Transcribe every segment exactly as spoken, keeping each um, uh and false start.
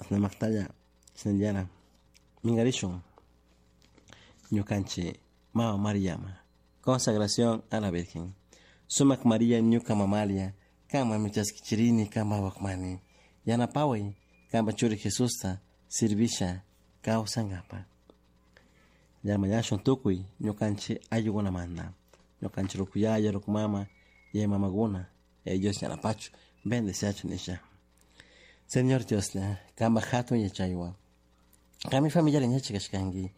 Asnamaktalla shinallara mingarishun ñukanchik mama Mariama. Consagración a la Virgen. Sumak María ñuka mamalia, kanman chaskichirini kanpa wakmani. Yanapaway kanpa churi Jesusta sirvisha kawsankapa. Llamañashun tukuy ñukanchik ayllukunamanta. Ñukanchik rukuyaya, rukumama, yaya mamakuna, Dios yanapachu, bendeciachu nisha. Señor Dioslla, kanpa hatun yachaywan. Kami familia ñachi kashkanki,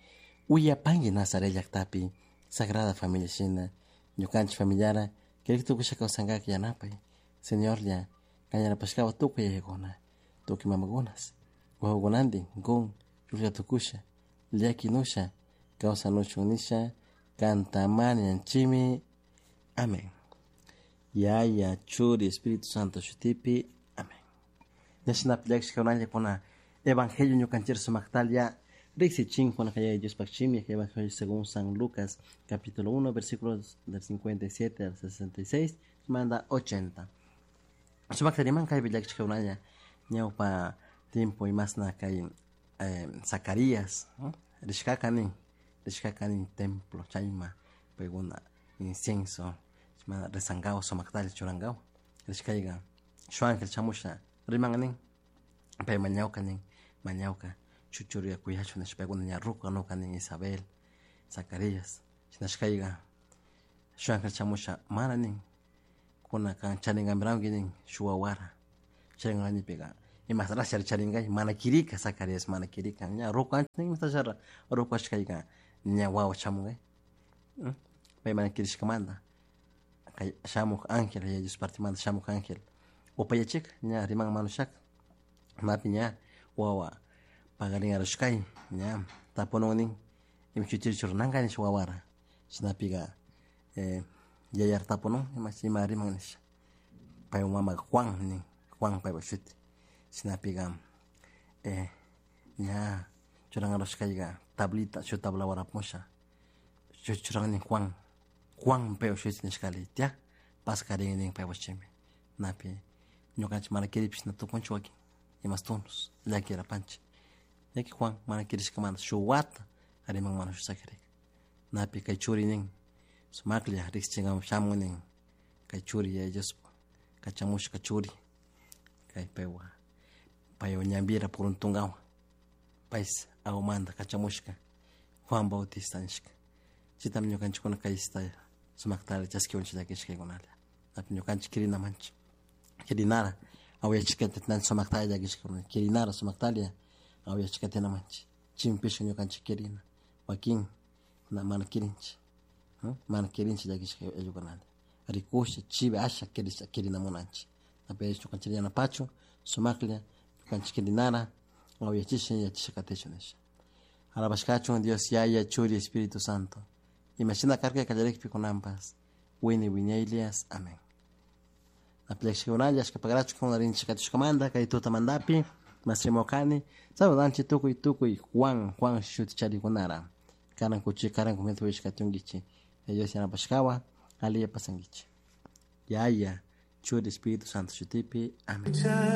uyapanki Nazaret llaktapi, Sagrada Familia shina, ñukanchik familiara, kirik tukusha kawsankaka yanapay. Señorlla, kan yanapashkawa tukuy yayakuna, tukuy mamakunas, wawakunantin, kun, llulla tukusha, llakinusha, kawsanuchun nisha, kanta mañanchimi. Amén. Yaya, Churi, Espíritu Santo shutipi. Amén. Ñashinapi llakishkakunalla kuna Evangelio ñukanchik sumaktalia riksichinkuna kay Diospaq shimi Evangelio según San Lucas capítulo uno versículos del cincuenta y siete al sesenta y seis manda ochenta. Sumakta riman kaypi llakishkakunalla ñawpa tiempo imasna kay eh, Zacarías, ¿no? Rishkaka nin, rishkaka nin templo chayma paykuna incienso rezangawa sumaktalla churangawa rishkayka shuk ángel chamusha riman nin pay mañawka nin mañawka chuchuriya kuyachu nishpa paykuna ña ruku kanuka nin Isabel Zacarías shinashkayka shuk ángel chamusha mana nin kuna kan charinkampiranki nin shuk wawara charinkanipika imasrashari charinkay mana kirika Zacarías mana kirika ña ruku ancha nin imatashara ruku ashkayka ña wawa chamunkay pay mana kirishkamanta kay shamuk ángel ya Dios partimanta shamuk ángel upayachik ña riman manushak napi ña wawa pagarin arushkay ña tapunun nin imchuchiri churananka nish wawara shinapika eh, yayar tapunun ima ima riman nisha pay mama Juan nin Juan paypa shuti shinapika eh, ña churan arushkayka tablita shu tabla waramusha churan nin Juan Juan paypa shuti nishkali tia paskarin nin paypa shimi napi ñukanchik mana kiripish na tukunchik wakin imastunus llakirapanchik yaki Juan mana kirishkamanta shuk wata riman mana shuk sakirika napi kay churi nin sumaklla riksichinkama shamun nin kay churi yaya Diospa kachamushka churi kay paywa paywa ñanpira puruntunkawa paysi awamanta kachamushka Juan Bautista nishka chaytami ñukanchikkuna kaysta sumaktalla chaskiwanchik llakishkaykunalla napi ñukanchik kirinamanchik kirinara awayachishka sumaktalla llakishkakuna kirinara sumaktalla awayachishkatinamanchik chimpishka ñukanchik kirina wakin na mana kirinchik mana kirinchik llakishka ayllukunalla rikusha chivi asha kirisha kirinamunanchik napi ñukanchik yanapachu sumaklla ñukanchik kirinara awayachisha yachasha katishun nisha alabashkachun Dios Yaya Churi Espíritu Santo imashina karka kallarikpi kunanpas wini wiñaylias amén. Napi llakishkakunalla ashkapakarachu kuna rinchik katishkamanta kay tutamantapi masrimawkani saludanchik tukuy tukuy Juan Juan shuti charikunara karan kuchi karan kumita wishkatunkichik Dios yanapashkawa aliya pasankichik Yaya Churi Espíritu Santo shutipi amén.